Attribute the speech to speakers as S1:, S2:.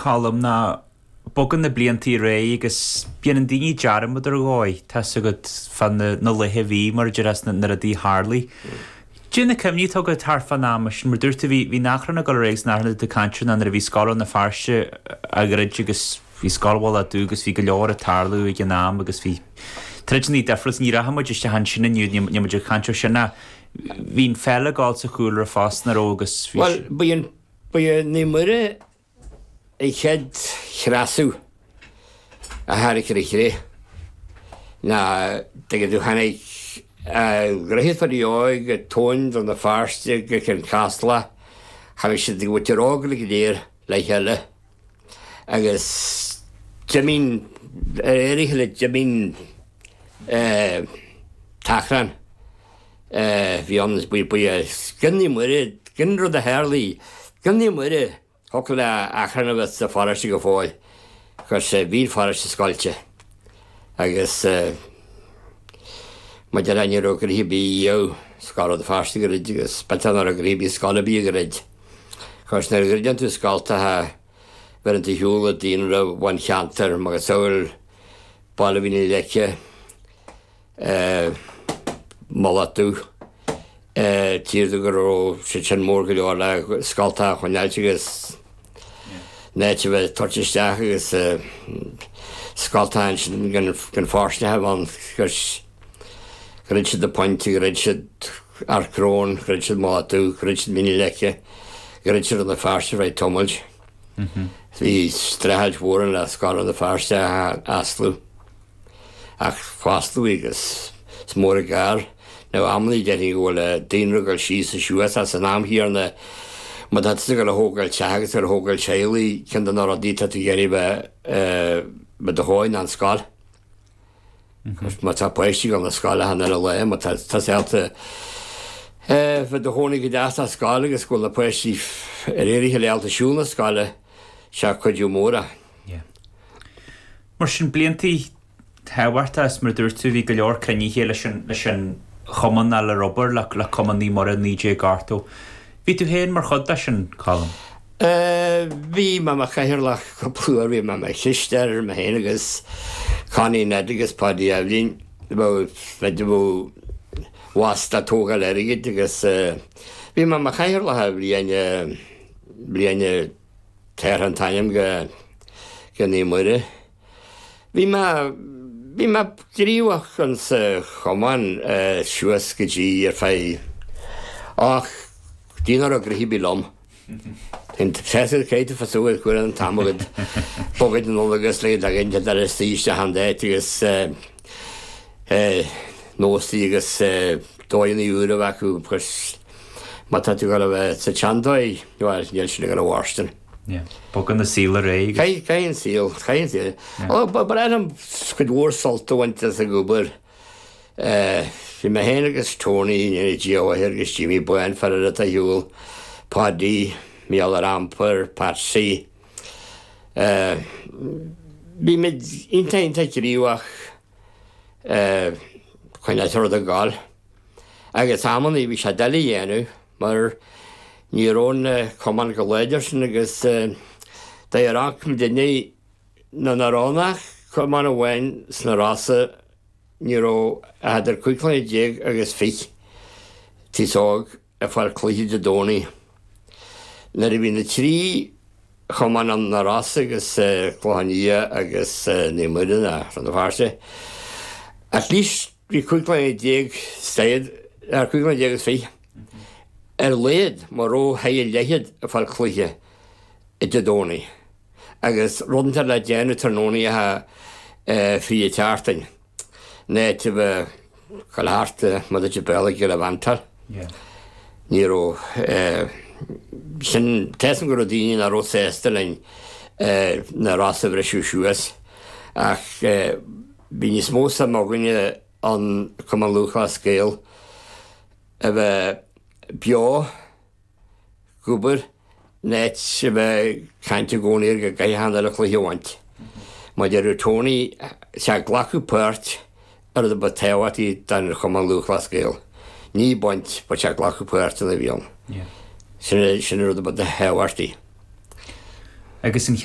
S1: Colm, ná bogann na bliantaí ar aghaidh agus déanann daoine dearmad ar dhóigh, tá's agat, fá na laetha a bhí, mar a déarfá, na rudaí a tharlaigh. Cad é na cuimhní atá agat thart fán am sin, mar dúirt tú, bhí an achrann ag dul ar aghaidh agus an achrann atá tú ag caint air ná nuair a bhí Scoil Rann na Feirste á dhruid agus bhí Scoil Mhullach Dubh agus bhí go leor ag tarlú ag an am agus bhí troideanna difriúla, ní rachaidh muid isteach ansin inniu, níl muid ag caint air sin ach bhí an pheil ag dul sa chúlra fosta, nach raibh agus bhí
S2: Bhuel, ba í an, ba í Naomh Muire an chéad chreasadh a tháinig ar an chré ná tuigeann tú tháinig Droichead Pháidí Óig go Tóin Rann na Feirste go Cionn Caslach tháinig siad go Muintir Óg go léir le chéile agus d'imigh ar éirigh le d'imigh an t-achrann bhí ann is ba é gan Naomh Muire gan rud a tharlaigh gan Naomh Muire Thiocfadh le achrann a bheith sa pharóiste go fóill, 'cause bhí an pharóiste scoilte agus mar a déarfá ní raibh gnoithe ar bith i ndiaidh Scoil Rann na Feirste a dhruid agus b'fhéidir nach raibh gnoithe ar bith scoil ar bith a dhruid. 'Cause nuair a dhruideann tú scoltacha bheireann tú ar shiúl an daonra ón cheantar macasamhail Baile Mhín na Leice, Mullach Dubh. Tchífeá go raibh siad sin mór go leor le scoltacha a choinneáilt agus an áit a bheith ag tabhairt isteach agus scoltacha ansin gan fóirstean a bheith ann agus dhruid siad an Pointe, dhruid siad Ard Crón, dhruid siad Mullach Dubh, dhruid siad Mín na Leice, dhruid siad Rann na Feirste ar feadh tamaill. Bhí streachailt mhór ann le Scoil Rann na Feirste a osclú. Ach fosclaíodh í agus is mór an gar nó amannaí déarfainn go bhfuil an daonra ag dul síos is suas ach san am chéanna má tá tusa ag dul a thógáil teach agus ag dul a thógáil teaghlaigh ceann de na rudaí atá tú ag iarraidh bheith i do chónaí ná an scoil. Má tá páistí ag dul na scoile achan uile lá má tá tusa ábalta bheith i do chónaí go deas sa scoil agus go bhfuil na páistí ar éirigh le ábalta siúl na scoile sé cuidiú mór é.
S1: Mar sin, bliantaí tábhachtacha is mar a dúirt tú, bhí go leor cruinnithe leis an, leis an chumann nó le obair le, le Cumann Naomh Muire 1980. Bhí tú féin mar chuid de sin, Colm?
S2: Bhí mé mar chathaoirleach cúpla uair, bhí mé mar chisteoir, mé féin agus Connie Ned agus Paddy Eibhlín, bheadh, bheadh bhasta ag tógáil airgid agus bhí mé mar chathaoirleach bliain, bliain, Tabhartha an t-ainm go Naomh Muire. Bhí mé, bhí mé gníomhach in sa chumann suas go dtí ar feadh, ach go dtí nach raibh gnoithe ar bith liom. An tréasúr caithfidh tú fosú ar cuireadh an t-am agat bogaid anall agus le dtagann tú ar suí isteach an áit agus nósaí agus dóigheanna úra a bheith acu agus Má tá tú ag dul a bheith sa tseandóigh, bhuel, níl sin ag dul a mhairstin.
S1: Yeah. Bogann an saol ar aghaidh
S2: agus. Caithfidh an saol, caithfidh an saol. Yeah. Ó, ba bhreá liom cuid mhór sult a bhaint as an obair. Bhí mé féin agus Tony, Dia a mhaith air, agus Jimmy Bán, fear eile atá ar shiúl, Paddy, Mícheál ar Ampar, Patsy. Bhí muid iontach, iontach gníomhach chun an rud a ghabháil. Agus amannaí bhí sé doiligh a dhéanamh mar ní raibh an cumann chomh láidir sin agus deir muidinne nuair nach raibh ann ach cumann amháin sna Rosa ní raibh ach idir 15 clainne agus 20 taos óg ag fáil cluiche Dé Domhnaigh. Nuair a bhí na trí chumann ann, na Rosa agus Clochán Liath agus Naomh Muire ná Rann na Feirste, at least bhí 15 clainne said, 15 clainne agus 20 ar a laghad mura raibh thar a leithéid ag fáil cluiche Dé Domhnaigh agus rud inteacht le déanamh tráthnónaí fríd an tseachtain. In áit a bheith ag gabháil thart mar a deir Béarla gallivantáil. Ní raibh sin, tá a fhios agam go raibh daoine nach raibh sásta linn na Rosa a bhriseadh suas ach bhí níos mó suim againne an Cumann Lúthchleas Gael a bheith beo ag obair in áit a bheith ag caint i gcónaí ar go gcaithfidh achan uile chluiche a bhaint. Mar a deireadh Tony, sé glacadh páirt an rud a ba tábhachtaí don Chumann Lúthchleas Gael. Ní baint, but sé glacadh páirt ann a bhí ann. Sin an rud a ba tábhachtaí.
S1: Agus an.